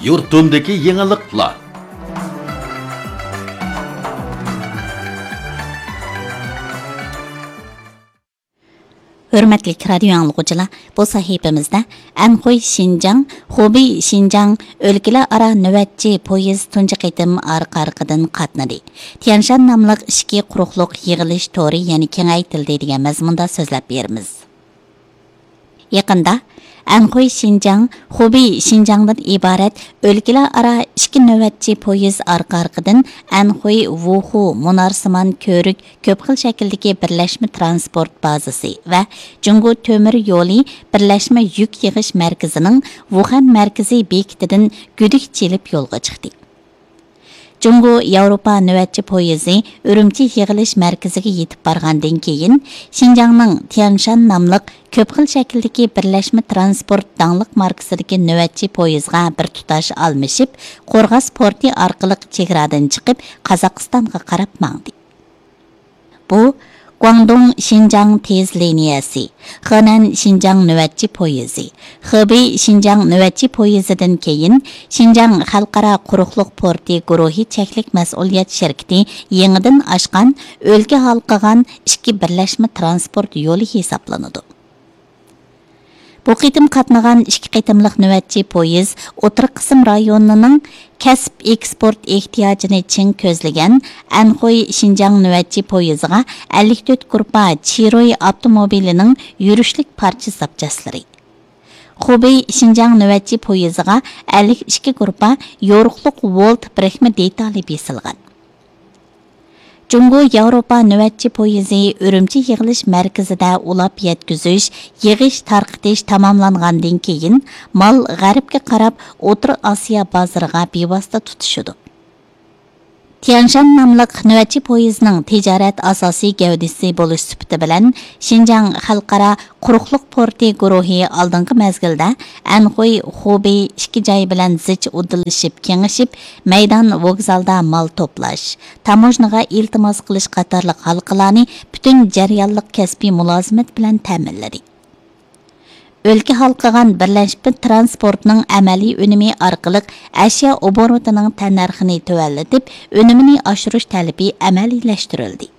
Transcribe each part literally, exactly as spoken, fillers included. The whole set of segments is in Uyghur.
يۇرتۇمدىكى يېڭىلىقلار. ھۆرمەتلىك رادىيو ئاڭلىغۇچىلار، بۇ سەھىپىمىزدە ئەنخۇي شىنجاڭ، خۇبېي شىنجاڭ ئۆلكىلەر ئارا نۆۋەتچى پويىز تۇنجى قېتىم ئارقا-ئارقىدىن قاتنىدى. تيەنشان ناملىق ئىچكى قۇرۇقلۇق يىغىلىش تورى يەنە كېڭەيتىلدى دېگەن مەزمۇندا سۆزلەپ بېرىمىز. يېقىندا ئەنخۇي شىنجاڭ، خۇبېي شىنجاڭدىن ئىبارەت ئۆلكىلەر ئارا ئىككى نۆۋەتچى پويىز ئارقا-ئارقىدىن ئەنخۇي ۋۇخۇ مۇنارسىمان كۆۋرۈك كۆپ خىل شەكىلدىكى بىرلەشمە ترانسپورت بازىسى ۋە جۇڭگو تۆمۈر يولى بىرلەشمە يۈك يىغىش مەركىزىنىڭ ۋۇخەن مەركىزى بېكىتىدىن گۈدۈك چېلىپ يولغا چىقتى. جۇڭگو ياۋروپا نۆۋەتچى پويىزى ئۈرۈمچى يىغىلىش مەركىزىگە يېتىپ بارغاندىن كېيىن، شىنجاڭنىڭ تيەنشان ناملىق كۆپ خىل شەكىلدىكى بىرلەشمە ترانسپورت داڭلىق ماركىسىدىكى نۆۋەتچى پويىزغا بىر تۇتاش ئالمىشىپ، قورغاس پورتى ئارقىلىق چېگرادىن چىقىپ، قازاقىستانغا قاراپ ماڭدى. بۇ، گۇاڭدۇڭ شىنجاڭ تېز لىنىيەسى، خېنەن شىنجاڭ نۆۋەتچى پويىزى، خېبېي شىنجاڭ نۆۋەتچى پويىزىدىن كېيىن، شىنجاڭ خەلقئارا قۇرۇقلۇق پورتى گۇرۇھى چەكلىك مەسئۇلىيەت شىركىتى يېڭىدىن ئاچقان ئۆلكە ھالقىغان ئىككى بىرلەشمە ترانسپورت يولى ھېسابلىنىدۇ. بۇ قېتىم قاتنىغان ئىككى قېتىملىق نۆۋەتچى پويىز ئوتتۇرا قىسىم رايونىنىڭ كەسىپ ئېكسپورت ئېھتىياجىنى چىڭ كۆزلىگەن ئەنخۇي شىنجاڭ نۆۋەتچى پويىزىغا ئەللىك تۆت گۇرۇپپا چىروي ئاپتوموبىلىنىڭ يۈرۈشلۈك پارچە زاپچاسلىرى، خۇبېي شىنجاڭ نۆۋەتچى پويىزىغا ئەللىك ئىككى گۇرۇپپا يورۇقلۇق ۋولت بىرىكمە دېتالى بېسىلغان. جۇڭگو ياۋروپا نۆۋەتچى پويىزى ئۈرۈمچى يىغىلىش مەركىزىدە ئۇلاپ يەتكۈزۈش، يىغىش، تارقىتىش تاماملانغاندىن كېيىن، مال غەربكە قاراپ ئوتتۇرا ئاسىيا بازىرىغا بىۋاسىتە تۇتىشىدۇ. تيەنشان ناملىق نۆۋەتچى پويىزنىڭ تىجارەت ئاساسىي گەۋدىسى بولۇش سۈپىتى بىلەن، شىنجاڭ خەلقئارا قۇرۇقلۇق پورتى گۇرۇھى ئالدىنقى مەزگىلدە ئەنخۇي، خۇبېي ئىككى جاي بىلەن زىچ ئۇدۇللىشىپ، كېڭىشىپ، مەيدان ۋوگزالدا مال توپلاش، تاموژنىغا ئىلتىماس قىلىش قاتارلىق ھالقىلارنى پۈتۈن جەريانلىق كەسپىي مۇلازىمەت بىلەن تەمىنلىدى. ئۆلكە ھالقىغان بىرلەشمە ترانسپورتنىڭ ئەمەلىي ئۈنۈمى ئارقىلىق ئەشيا ئوبوروتىنىڭ تەننەرخىنى تۆۋەنلىتىپ، ئۈنۈمىنى ئاشۇرۇش تەلىپى ئەمەلىيلەشتۈرۈلدى.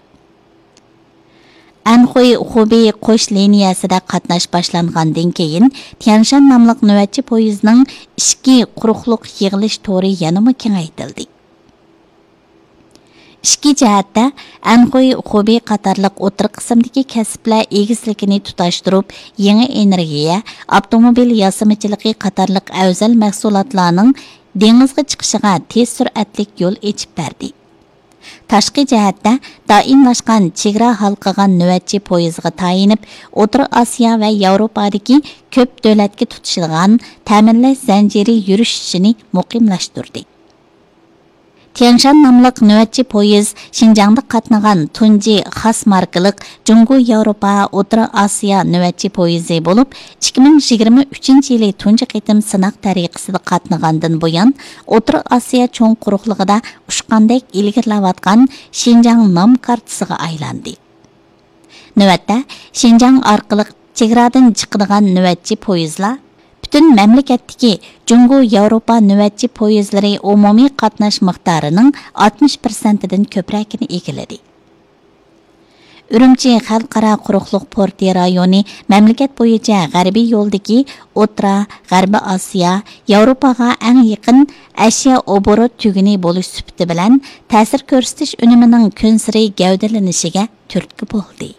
ئەنخۇي خۇبېي قوش لىنىيەسىدە قاتناش باشلانغاندىن كېيىن، تيەنشان ناملىق نۆۋەتچى پويىزنىڭ ئىچكى قۇرۇقلۇق يىغىلىش تورى يەنىمۇ كېڭەيتىلدى. ئىچكى جەھەتتە، ئەنخۇي خۇبېي قاتارلىق ئوتتۇرا قىسىمدىكى كەسىپلەر ئېگىزلىكىنى تۇتاشتۇرۇپ، يېڭى ئېنېرگىيە، ئاپتوموبىل ياسىمىچىلىقى قاتارلىق ئەۋزەل مەھسۇلاتلارنىڭ دېڭىزغا چىقىشىغا تېز سۈرئەتلىك يول ئېچىپ بەردى. تاشقى جەھەتتە، دائىملاشقان چېگرا ھالقىغان نۆۋەتچى پويىزىغا تايىنىپ، ئوتتۇرا ئاسىيا ۋە ياۋروپادىكى كۆپ دۆلەتكە تۇتىشىدىغان تەمىنلەش زەنجىرى يۈرۈشۈشىنى مۇقىملاشتۇردى. تيەنشان ناملىق نۆۋەتچى پويىز شىنجاڭدا قاتنىغان تۇنجى خاس ماركىلىق جۇڭگو ياۋروپا ئوتتۇرا ئاسىيا نۆۋەتچى پويىزى بولۇپ، ئىككى مىڭ يىگىرمە ئۈچىنچى يىلى تۇنجى قېتىم سىناق تەرىقىسىدە قاتنىغاندىن بۇيان، ئوتتۇرا ئاسىيا چوڭ قۇرۇقلۇقىدا ئۇچقاندەك ئىلگىرىلەۋاتقان شىنجاڭ نام كارتىسىغا ئايلاندى. نۆۋەتتە، شىنجاڭ ئارقىلىق چېگرادىن چىقىدىغان نۆۋەتچى پويىزلار پۈتۈن مەملىكەتتىكى جۇڭگو ياۋروپا نۆۋەتچى پويىزلىرى ئومۇمىي قاتناش مىقدارىنىڭ ئاتمىش پىرسەنتىدىن كۆپرەكىنى ئىگىلىدى. ئۈرۈمچى خەلقئارا قۇرۇقلۇق پورتى رايونى مەملىكەت بويىچە غەربىي يولدىكى ئوتتۇرا، غەربىي ئاسىيا، ياۋروپاغا ئەڭ يېقىن ئەشيا ئوبوروت تۈگۈنى بولۇش سۈپىتى بىلەن، تەسىر كۆرسىتىش ئۈنۈمىنىڭ كۈنسېرى گەۋدىلىنىشىگە تۈرتكە بولدى.